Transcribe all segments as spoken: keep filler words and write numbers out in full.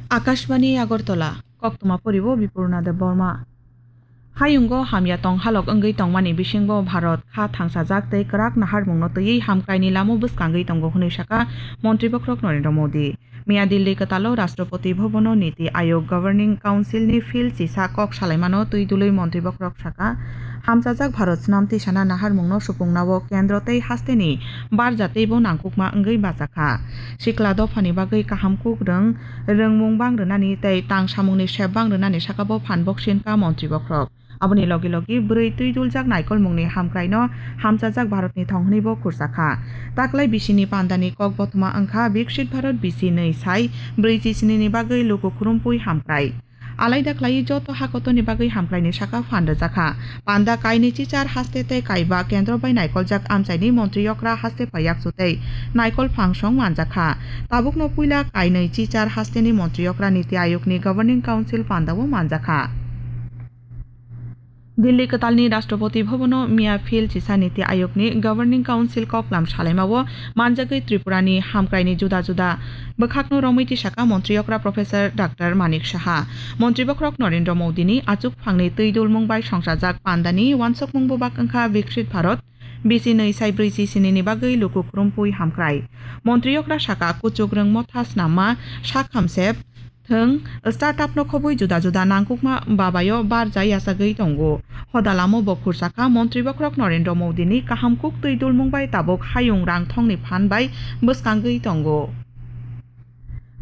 Akashbani Agartala, koktwma poribo Bipurna Debbarma. Hayungo hamya tong halok wngwi tongmani bisingo Bharat kha thangsajak tei kwrak naharmungno twiwi hamkraini lamo bwskangwi tongo hwnwi sakha Montri Bokhorok Narendra Modi. Miya Delhi kwtalo Rashtrapati Bhabono Niti Ayog Governing Council ni field chisa kok salaimano twi dului Montri Bokhorok sakha, hamchajak Bharat snam tisana naharmungno supungnao kendro tei hasteni barja teibo nangkukma wngwi bacha kha. Sikla dophani bagwi kaham kuk rwng rwngmung bang rwnani tei tang samungni sep bang rwnani sakabo phan boksin kha Montri Bokhorok. Aboni logi logi bwrwi twi duljak naikolmungni hamkraino hamchajak Bharatni thong hwnwibo khursa kha. Taklai bisini pandani kok bothoma wngkha Viksit Bharat bisi nwi sai brwichi sini ni bagwi luku khurumphwi hamkrai. Alaida khlaiwi joto hakotorni bagwi hamkraini sakha phan rwjakha. Panda kainwi chichar haste tei kaiba kendro bai naikoljak amchaini montri yokra haste phai yakchu tei naikol phangsong manjakha. Tabukno puila kainwi chichar hasteni montri yokra Niti Ayogni Governing Council pandao manjakha. Delhi kwtalni Rashtrapati Bhabono miya field chisa Niti Ayogni Governing Council koklam salaimao manjagwi Tripurani hamkraini juda juda bwkhakno romwi tisaka montri yokra Professor Doctor Manik Saha. Montri bokhorok Narendra Modini achuk phangni twi dulmung bai songchajak pandani wansokmung bubak wngkha Viksit Bharat bisi nwi sai brwichi sinini bagwi luku khurumphwi hamkrai. Montri yokra saka kuchuk rwng motha snamma sak hamsep thwng, startup no khobwi juda juda nangkukma babayo barja yachagwi tongo. Hoda lamo bo khursa kha Montri bokhorok Narendra Modini kaham kuk twi dulmung bai tabuk hayung rang thongni phan bai bwskangwi tongo.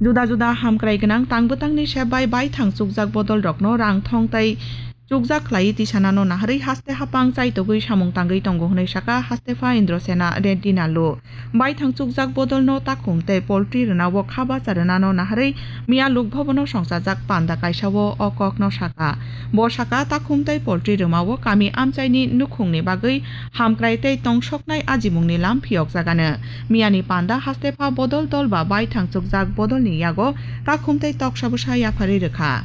Juda juda hamkrai gwnang tang bwtangni sep bai baithang chukjak bodol rokno rang thong tei chukjak khlaiwi tisanano naharwi haste hapang chaitogwi samung tangwi tongo hwnwi sakha hastepha Indrasena Reddy Nallu. Baithang chukjak bodolno takhum tei poultry rwnao kha bacha rwnano naharwi miya Lok Bhabono songchajak panda kaisao o kokno sakha. Bo sakha takhum tei poultry rwmao kami amchaini nukhungni bagwi hamkrai tei tongsoknai ajimungni lam phiyokjagano. Miyani panda hastepha bodol dol ba baithang chukjak bodolni yago takhum tei toksa bwsa yapharwi rwkha.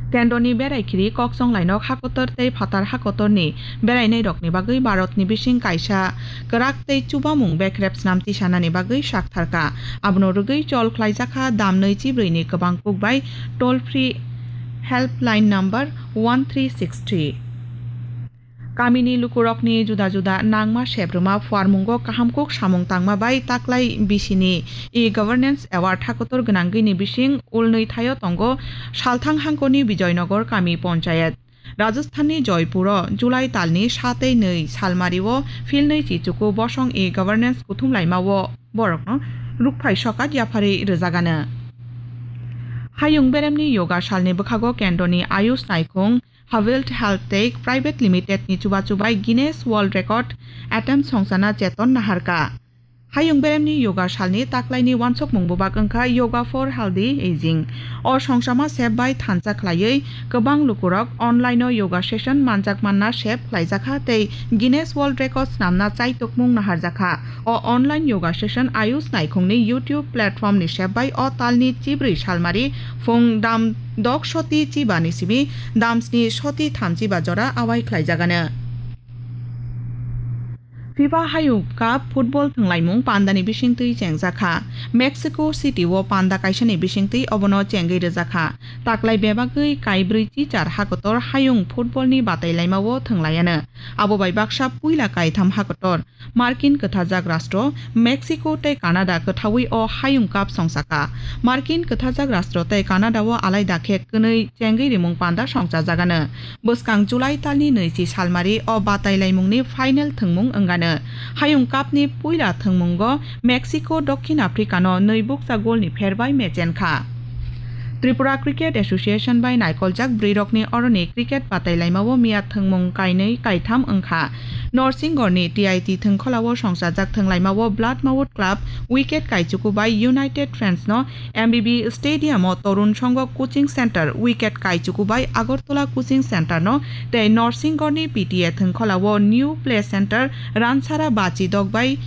Kendroni berai khiri kok chonglainok hakotor tei phatar hakotorni berainairokni bagwi Bharatni bising kaisa kwrak tei chubamung bekrep snam tisanani bagwi saktharkha. Abono rwgwi chol khlaijakha damnwi chibrwini kwbang kuk bai toll free helpline number one three six three. Kamini lukurokni juda juda nangma sep rwma phuarmungo kaham kuk samung tangma bai taklai bisini e-governance award hakotor gwnangwini bising ulnwi thaio tongo Salthang hangkoni Bijoynagar kami ponchayat. Rajasthanni Joypuro July talni satei nwi salmario philnwi chichuku bosong e-governance kuthum laimao borokno rukphai sokat yapharwi rwjagano. Hayung beremni yoga salni bwkhago kendroni Ayush naikhung Havild Health Tech Private Limited ni chubachu bai Guinness World Record attempt songchana cheton naharka. Hayung beremni yoga salni taklaini wansokmung bubak wngkha Yoga for Healthy Aging. O songchama sep bai thansa khlaiwi kwbang lukurok online o yoga session manjak manna sep khlaijakha tei Guinness World Record snamna chaitokmung naharjakha. O online yoga session Ayush naikhungni YouTube platform ni sep bai o talni chibrwi salmari phung dam dok soti chiba ni simi dam sni soti thamchiba jora awai khlaijagano. FIFA Hayung Cup football thwnglaimung pandani bisingtwi chengjakha. Mexico City o panda kaisani bisingtwi obono chengwi rwjakha. Taklai bebagwi kaibrwi chichar hakotor hayung football ni batai laimao thwnglaiano. Abo bai baksa puila kaitham hakotor. Markin kwthajak rastro Mexico tei Canada kwthaui o Hayung Cup songsaka. Markin kwthajak rastro tei Canada o alaida khe kwnwi chengwi rimung panda songchajagano. Bwskang July talni nwichi salmari o batai laimungni final thwngmung wngano. Hayung Cup ni puila thwngmungo Mexico Dokhin Africa no nwi bukcha golni pher bai mechenkha. Tripura Cricket Association bai naikoljak bwrwirokni oroni cricket batai laimao miya thwngmung kainwi kaitham wngkha. Norsingorni T I T thwngkholao songchajak thwnglaimao Bloodmouth Club wicket kaichuku bai United Friends no M B B Stadium o Torun Songho Coaching Center wicket kaichuku bai Agartala Coaching Center no tei Norsingorni P T A thwngkholao New Play Center Ransara Bachi dok bai